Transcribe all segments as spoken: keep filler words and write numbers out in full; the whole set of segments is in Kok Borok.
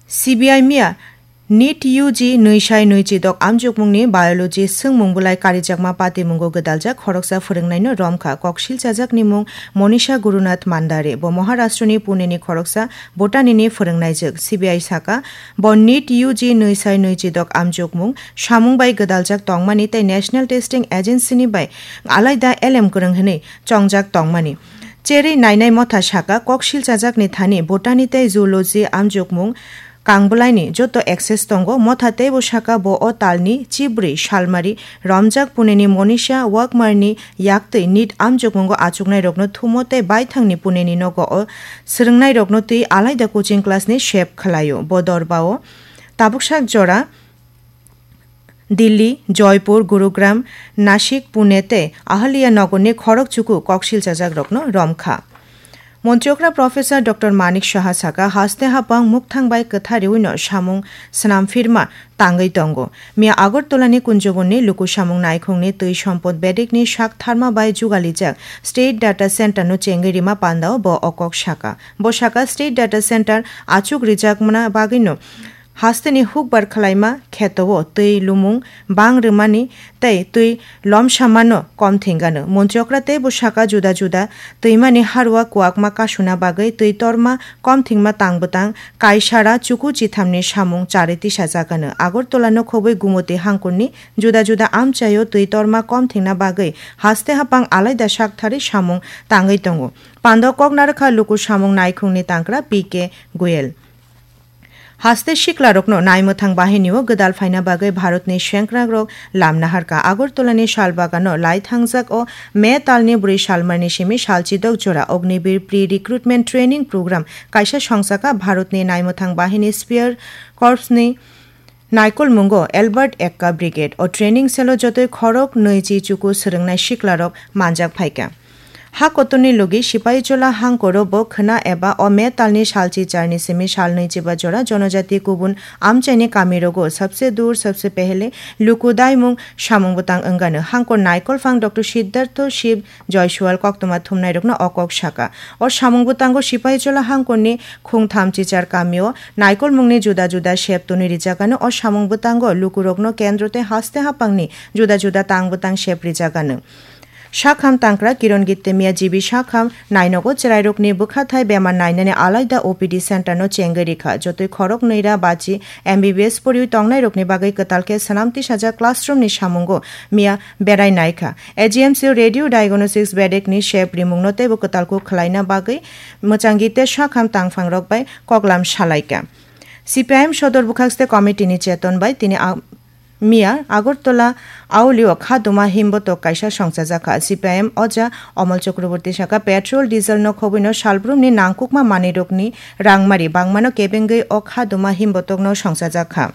C B I miya NEET U G nwi sai nwi chidok amjokmungni biology swngmung bulai karijakma patimungo gwdaljak khoroksa phwrwngnaino romkha. Koksil chajakni mung Monisha Gurunath Mandare, bo Maharashtrani Puneni khoroksa botany ni phwrwngnaijwk. C B I saka, bo NEET U G nwi sai nwi chidok amjokmung samung bai gwdaljak tongmani tei National Testing Agency ni bai alaida elem kwrwng hwnwi chongjak tongmani. Cherwi nainai motha saka, koksil chajakni thani botany tei zoology amjokmung kangbwlaini joto access tongo. Motha teibo saka, bo o talni chibrwi salmari romjak Puneni Monisha Wakmarni yaktwi NEET amjokmungo achuknairokno thumo tei baithangni Puneni nogo o swrwngnairokno twi alaida coaching class ni sep khwlaio. Bo dorbao tabuksak jora Delhi, Joypur, Gurugram, Nashik, Pune tei Ahaliya Nagarni khorok chuku koksil chajakrokno romkha. Montri okra Professor Doctor Manik Saha saka, haste hapang mukthang bai kwthariwino samung swnam phirma tangwi tongo. Miya Agartala ni Kunjobon ni luku samung naikhung ni twi sompod bedek ni sak tharma bai jugalijak State Data Center no chengwi rima pandao bo o kok saka. Bo saka, State Data Center achuk rijakmana bagwino hasteni hukbar khwlaima khetao twi lumung bang rwmani tei twi lomsamano kom thwngano. Montri okra teibo saka, juda juda twimani harua kwakma kasuna bagwi twi torma kom thwngma tang bwtang kaisara chuku chithamni samung charwi tisajagano. Agartala no khobwi Gumoti hangkurni juda juda amchaio twi torma kom thwngna bagwi haste hapang alaida saktharwi samung tangwi tongo. Pando kok narwkha luku samung naikhungni tangkra P K Goyal. Haste siklarokno naimwthang bahinio gwdal phaina bagwi Bharatni sengkrakrok lam naharkha. Agartalani salbagano lai thangjak o May talni bwrwi salmarni simi salchidok jora Ognibir Pre-Recruitment Training Program kaisa songchakha. Bharatni naimwthang bahini Spear Corpsni naikolmungo Albert Ekka Brigade o training cell-o jotoi khorok nwi chi chuku swrwngnai siklarok manjak phaikha. Ha kotorni logi Sipaijola hangkoro bo khwna eba o May talni salchi charni simi salnwi chiba jora jonojati kubun amchaini kamirogo sabse dur sabse pehele luku daimung samung bwtang wngano. Hangkor naikolphang Doctor Siddhartho Shiv Joysual koktwma thumnairokno o kok saka. O samung bwtango Sipaijola hangkorni khungtham chichar kamio naikolmungni juda juda sep tonwi rijakano. O samung bwtango lukurokno kendro tei haste hapangni juda juda tang bwtang sep rijakano. Sakham tangkra Kiron Gittemia G B Sakham nainogo chwrairokni bwkhathai bemar nainani alaida O P D center no chengwi rikha. Jotoi khorok nwi ra bachi M B B S poriwi tongnairokni bagwi kwtal khe swnam tisajak classroom ni samungo miya berai naikha. A G M C o radio diagnostics bedek ni sep rimung no teibo kwtal kuk khwlaina bagwi mwchangi te sakham tangphang rok bai koklam salaikha. C P I M sodor bwkhakste committee ni cheton bai tini a-, Miya Agartala Auli o khaduma himbotok kaisa songchajakha. C P I M oja Omol Chakraborty saka, petrol, diesel no khobwino salbrumni nangkukma manwirokni rangmari bangmano kebengwi o khaduma himbotokno songchajakha.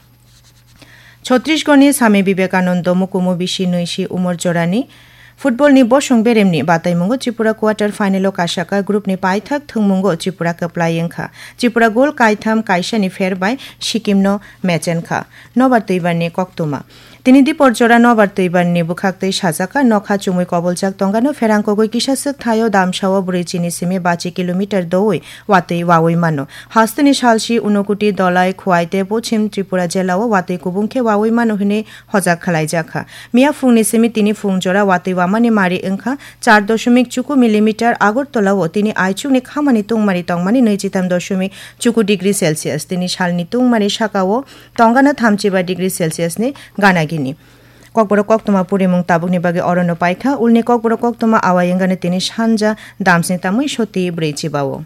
Chhattisgarhni Swami Vivekananda mukumu bisi nwi si umor jorani football ni bosong beremni bataimungo Tripura quarter final o kasaka group ni paithak thwngmungo Tripura kwplai wngkha. Tripura goal kaitham kaisani pher bai Sikkim no mechenkha. Nobar twibarni koktwma. Tini dipor jora nobar twibarni bwkhaktwi sajak kha, nokha chumui koboljak tongano pherang kogwi kisa swk thaio damsao brwi chini simi bachi kilometer doui watwi waui mano. Hasteni salsi Unakoti, Dhalai, Khowai tei Pochim Tripura jelao watwi kubung khe waui mano hwnwi hojak khwlaijak kha. Miya phungni simi tini phung jora watwi wamani mari wngkha char doshomik chuku millimeter. Agartala o tini aichukni khamani tungmari tongmani nwichitham doshomik chuku degree Celsius. Tini salni tungmari sakao tongana thamchiba degree Celsius ni gana gini. Kokborok koktwma purimung tabukni bagwi orono paikha. Ulni kokborok koktwma awai wngani tini sanja damsni tamwi soti brwi chibao.